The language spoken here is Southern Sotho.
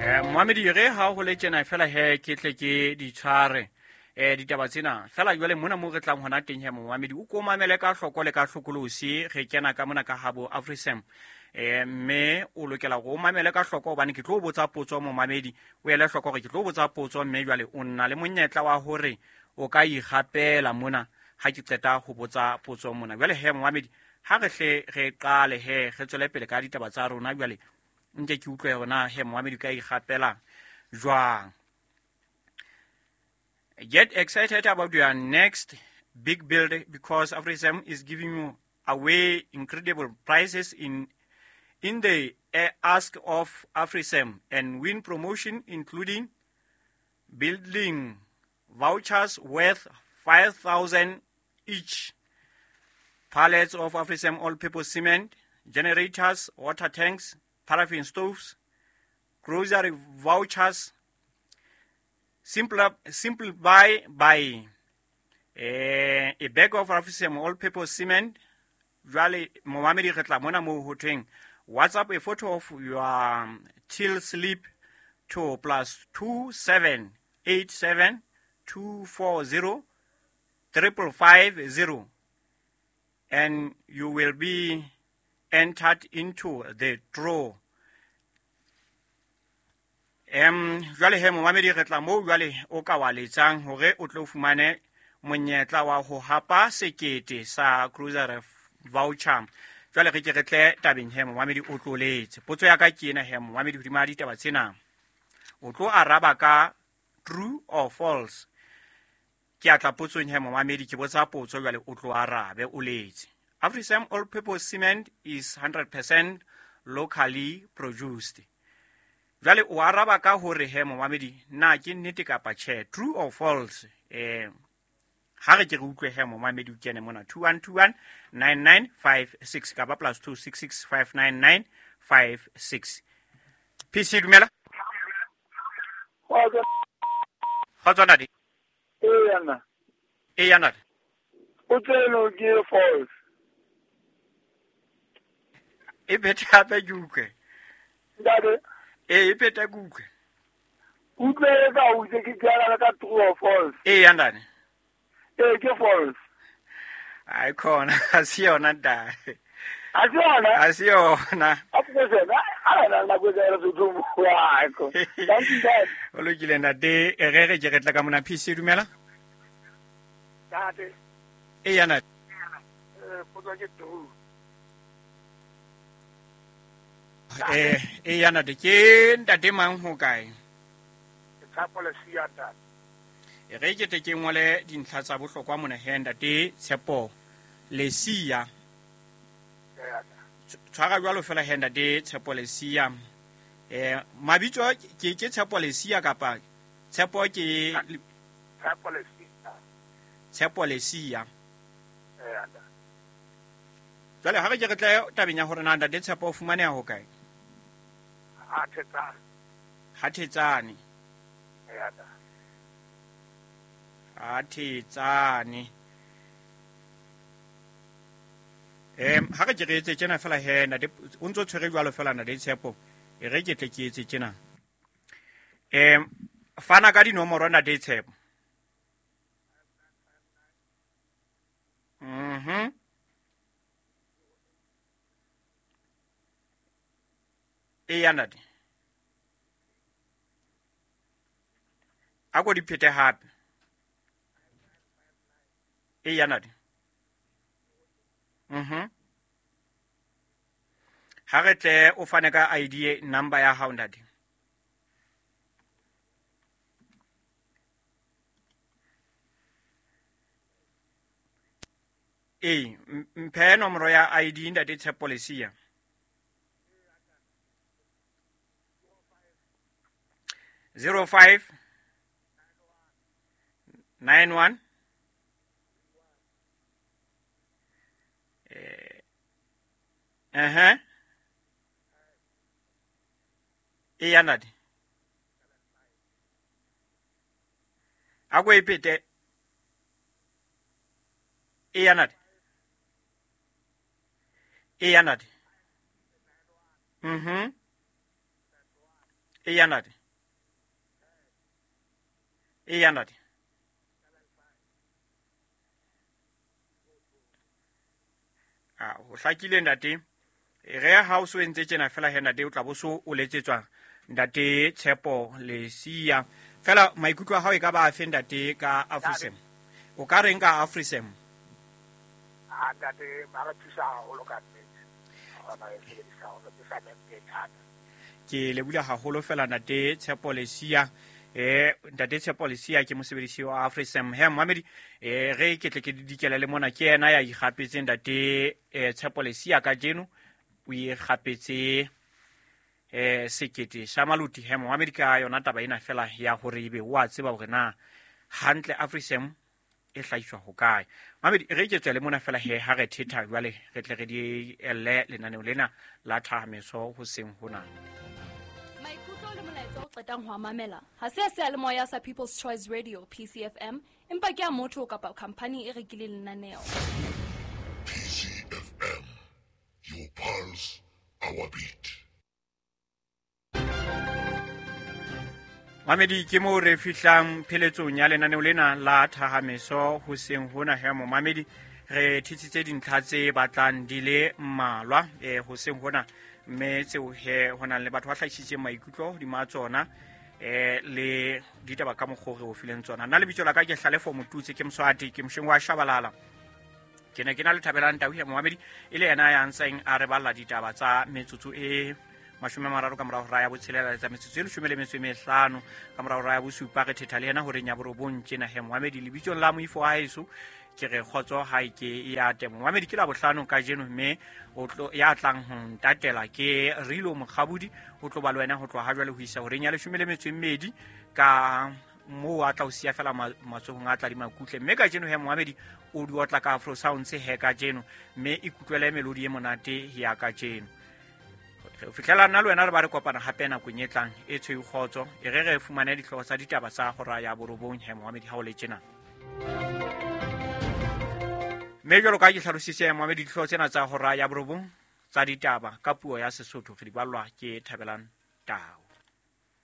Moamedi re ha ho le tjena fela he ke tle ke di tshware ditaba tsena fela. Jwale mona mo re tlang hona teng he, momamedi, o ko mamele ka hloko le ka hlokolosi. Re kena ka mona ka habo AfriSam, mme o lokela hore o mamele ka hloko hobane ke tlo botsa potso. Momamedi, o ele hloko hore ke tlo botsa potso, mme jwale o nna le monyetla wa hore o ka ikgapela mona ha ke qeta ho botsa potso mona. Jwale he, momamedi, ha re hle re qale he, re tswele pele ka ditaba tsa rona. Jwale nke ke utlwe hore na he, momamedi, o ka ikgapela jwang. Get excited about your next big build because AfriSam is giving you away incredible prizes in the Ask of AfriSam and Win promotion, including building vouchers worth 5,000 each, pallets of AfriSam all-purpose cement, generators, water tanks, paraffin stoves, grocery vouchers. Simple buy by a bag of AfriSam all-purpose cement. Jwale momamedi, re tla mona moo ho thweng WhatsApp a photo of your till slip to +27 87 240 5550 and you will be entered into the draw. Jwale he, momamedi, re tla moo jwale o ka wa letsang hore o tlo fumane monyetla wa ho hapa 1000 sa grocery voucher. Jwale re ke re tle tabeng he, momamedi, o tlo letse. Potso ya ka ke ena he, momamedi, hodima ditaba tsena o tlo araba ka true or false. Ke a tla potsong he, momamedi, ke botsa potso, jwale o tlo arabe o letse. AfriSam all purpose cement is 100% locally produced. Jwale o araba ka hore he, momamedi, na ke nnete kapa tjhe, true or false? Ha re ke re utlwe he, momamedi, o kene mona 2121 9956 kapa +266 59956. PC, dumela. Kgotso, ntate. Ee, nna. E ya, ntate. O tseno ke false. E phethe hape ke utlwe. Ntate. Ee, e phethe ke utlwe. Utlwe ka utlwe ke ke ka true or false. Ee ya, ntate. Ee, ke false. Hayi khona, asiyona, ntate. Ha se yona? Asiyona. A nako e ka re tlo bua. Thank you, ntate. O lokile, ntate. Re re ke re tla ka mona. PC, dumela. Ntate. E ya, ntate. Potso ke true. E ya, ntate. Ke ntate mang, ho kae? Ke Tshepo Lesia, ntate. E re ke tle ke ngole dintlha tsa bohlokwa mona he, ntate Tshepo Lesia. Tshwara jwalo fela he, ntate Tshepo Lesia. Mabitso ke Tshepo Lesia kapa Tshepo ke? Tshepo Lesia. Tshepo Lesia. Ee, ntate. Jwale ha re ke re tle tabeng ya hore na ntate Tshepo o fumaneha ho kae. Ha Thetsane. Ha Thetsane. Ee, ntate. Ha Thetsane. Ha re ke re etse tjena fela he, ntate, o ntso tshwere jwalo fela, ntate Tshepo. E re ke tle ke etse tjena. Fana ka dinomoro, ntate Tshepo. E ya, ntate, a ko di phete hape. E ya, ntate. Ha re tle o fane ka ID number ya hao, ntate. Ee, mphe nomoro ya ID, ntate Tshepo Lesia. 05 91 E ya, ntate, a ko e phete. E ya, ntate. E ya, ntate. Eya ntate. Eya ntate. A ho hlakile ntate. Re ha o so entse tjena fela he ntate, o tla bo so o letsetswa ntate Tshepo Lesia. Fela maikutlo a hao e ka ba afe ntate ka Afrisem? O ka reng ka Afrisem? A ntate, ba re thusa haholo ka nnete. Kgona e sebedisa hore ke sa mente e thata. Ke lebula haholo fela ntate Tshepo Lesia. Ntate Tshepo Lesia ke mosebedisi wa Afrisem. He momamedi, re ke tle ke dikele le mona, ke yena ya ikgapetseng ntate Tshepo Lesia kajeno. O ikgapetse 1000 sa maluti. He momamedi, ka yona taba ena fela ya hore ebe o a tseba hore na hantle Afrisem e hlahiswa ho kae. Mamedi, re ke tswele mona fela he ha re thetha jwale, re tle re di elle lenaneo lena la Thahameso hoseng hona. Maikutlo le molaetsa o qetang ho a mamela ha se a seyalemoya sa People's Choice Radio PCFM, empa ke a motho kapa khampani e rekileng lenaneo. PCFM, your pulse, our beat. Mamedi, ke moo re fihlang pheletsong ya lenaneo lena la Thahameso hoseng hona. He momamedi, re thetsitse dintlha tse batlang di le mmalwa hoseng hona, mme tseo he ho nang le batho ba hlahisitseng maikutlo hodima tsona, le ditaba ka mokgwa o re o fileng tsona. Nna lebitso la ka ke Hlalefo Motutse, ke Moswati, ke mosheng wa Shabalala. Ke ne ke na le Thabelang Tau he momamedi, e le yena ya ntseng a re balla ditaba tsa metsotso e 30 ka morao hora ya botshelela, tsa metsotso e 15 ka morao hora ya bosupa. Re thetha le yena horeng ya borobong tjena he momamedi. Lebitsong la moifo wa heso ke re kgotso ha e ke ya temo. Momamedi, ke la bohlano kajeno, mme o tlo ya tlang ho ntatela ke Rilo Mokgabudi, o tlo ba le wena ho tloha ha jwale ho isa horeng ya 12 ka moo a tla o siya fela matsohong a tla di makutle. Mme kajeno he momamedi, o di otla ka Afro Sounds he kajeno, mme ikutlwele melodi e monate ya kajeno. Re fihlela nna le wena re ba re kopana hape nakong e tlang e tshweu kgotso. E re re fumane dihlooho tsa ditaba tsa hora ya borobong he momamedi ha o le tjena. Mme jwalo ka ha ke hlalositse momamedi, dihlooho tsena tsa hora ya borobong tsa ditaba ka puo ya Sesotho re di ballwa ke Thabelang Tau.